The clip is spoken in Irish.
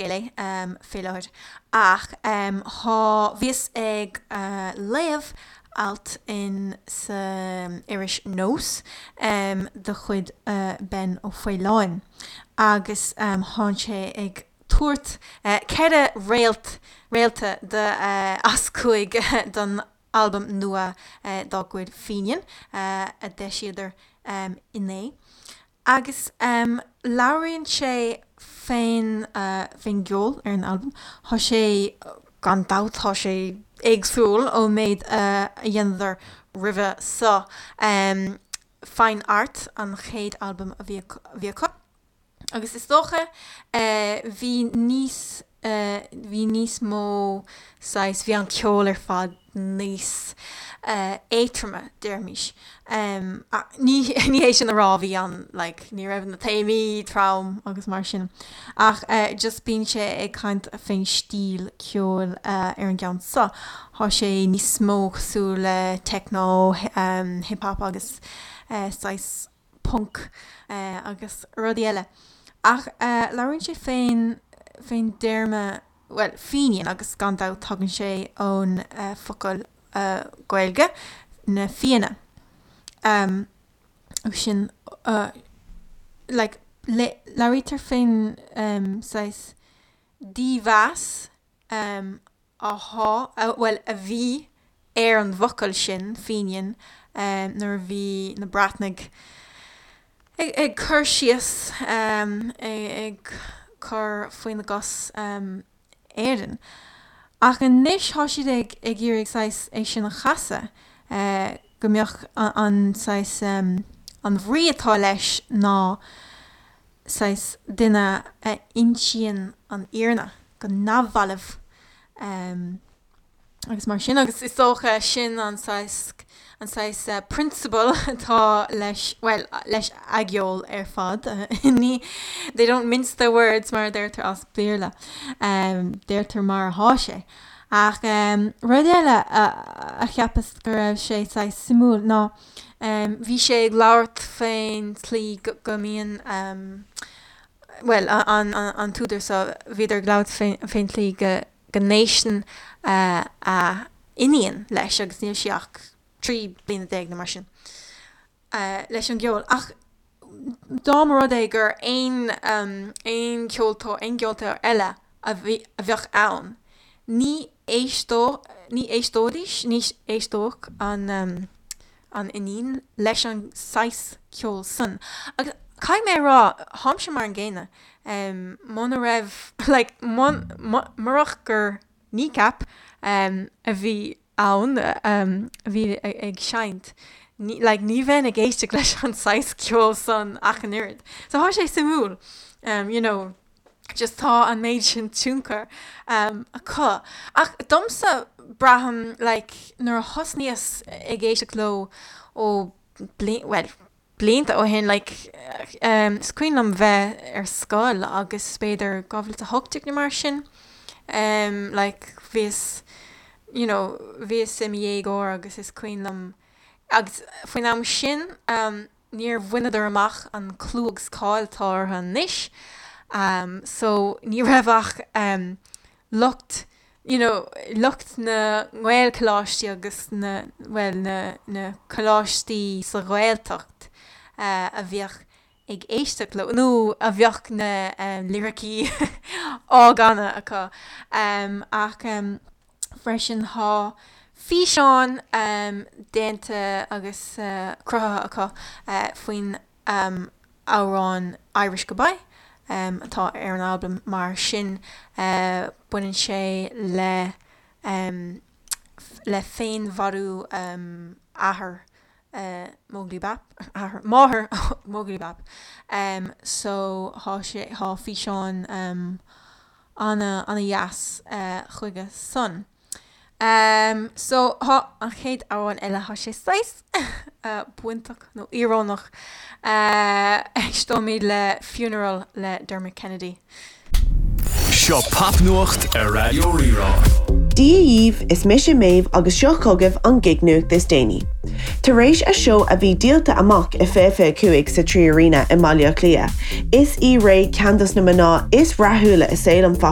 scéal é fé láthair. Ach thá, bhíos ag léamh alt in sa iris Nós de chuid Ben Ó Faoláin agus thánn sé ag tabhairt 4 réalt, réalta de as 5 don albam nua dá gcuid Fínian a d'eisíodar inné. Agus labhraíonn sé fén fén gceol ar an albam. Thá sé, gan dabht, thá sé éagsúil ón méid a dheineadar roimhe so. Fine Art an chéad albam a bhí acu. Agus is dócha bhí níos, bhí níos mó saghas, bhí an ceol ar fad níos éadtroime, déarfaimis. Ní ní hé sin a rá bhí an, like, ní raibh na téamaí trom agus mar sin. Ach just bíonn sé ag caint fén stíl ceoil ar an gceann seo. Thá sé níos mó cosúil le techno, hip hop agus saghas punk agus rudaí eile. Ach labhraíonn sé fén, fén dtéarma, bhuel, Fenian agus gan dabht tagann sé ón focal Gaeilge, na Fianna. Agus sin, like, labhraítear fén saghas dímheas athá, bhuel, a bhí ar an bhfocal sin, Fenian, nuair a bhí na Breatnaigh ag cur síos, ag cur faoina gcos Éirinn. Ach anois thá siad ag iarraidh saghas é sin a chasadh, go mbeadh an saghas, an bhrí atá leis ná saghas duine a insíonn an fhírinne go neamhbhalbh agus mar sin agus is dócha sin an saghas an saghas prionsabal atá leis, bhuel, leis a gceol ar fad. Ní, they don't mince their words mar a deirtear as Béarla. Deirtear mar athá sé. Ach rud eile a cheapas go raibh sé saghas suimiúil ná Bhí sé ag labhairt fén tslí go mbíonn, bhuel, an t-údar seo, bhíodar ag labhairt fén tslí go n-éisteann a iníon leis, agus níl sí ach 13 bliana nó mar sin, leis an gceol. Ach dá mba rud é gur aon aon cheoltóir, aon gceoltóir eile a bheadh ann, ní éisteodh, ní éisteoidís, ní éisteodh an an iníon leis an saghas ceoil san. Agus caithfidh mé a rá, tháimse mar an gcéanna. Muna raibh, like, murach gur Kneecap a bhí ann, a bhí ag seinnt, like, ní bheinn ag éisteacht leis an saghas ceoil san ach an oiread. So thá sé suimiúil, you know, just tá an méid sin tionchar acu. Ach domsa, braithim, like, nuair a thosnaíos ag éisteacht leo ó bhuel, blianta ó shin, like, is cuimhin liom bheith ar scoil agus b'fhéidir 2018 nó mar sin, like, bhíos, you know, bhíos i mo dhéagóir agus is cuimhin liom, agus faoin am sin, níor bhaineadar amach an clú agus cáil atá orthu anois so ní raibh ach lucht you know lucht na nGaelcholáistí agus na bhuel na na coláistí sa Ghaeltacht a bhíodh ag éisteacht leo nó a bheadh na liricí á gcanadh acu ach Freisin thá físeáin déanta agus cruthaithe acu faoin amhrán Irish Goodbye atá ar an albam mar sin baineann sé le le féinmharú athair Móglaí Bap, athair, máthair Móglaí Bap so thá sé, thá físeán ana, ana dheas chuige san. So thá an chéad amhrán eile, thá sé saghas bainteach nó íorónach, éisteoimid le Funeral le Dermot Kennedy. Seo Popnuacht ar Raidió Rí-Rá. Dia dhaoibh, is mise Méabh agus seo chugaibh an gig-nuacht is déanaí. Tar éis a seó a bhí díolta amach i 2025 sa 3 Arena i mBaile Átha Cliath, is í Raye ceann dos na mná is rathúla i saol an phop.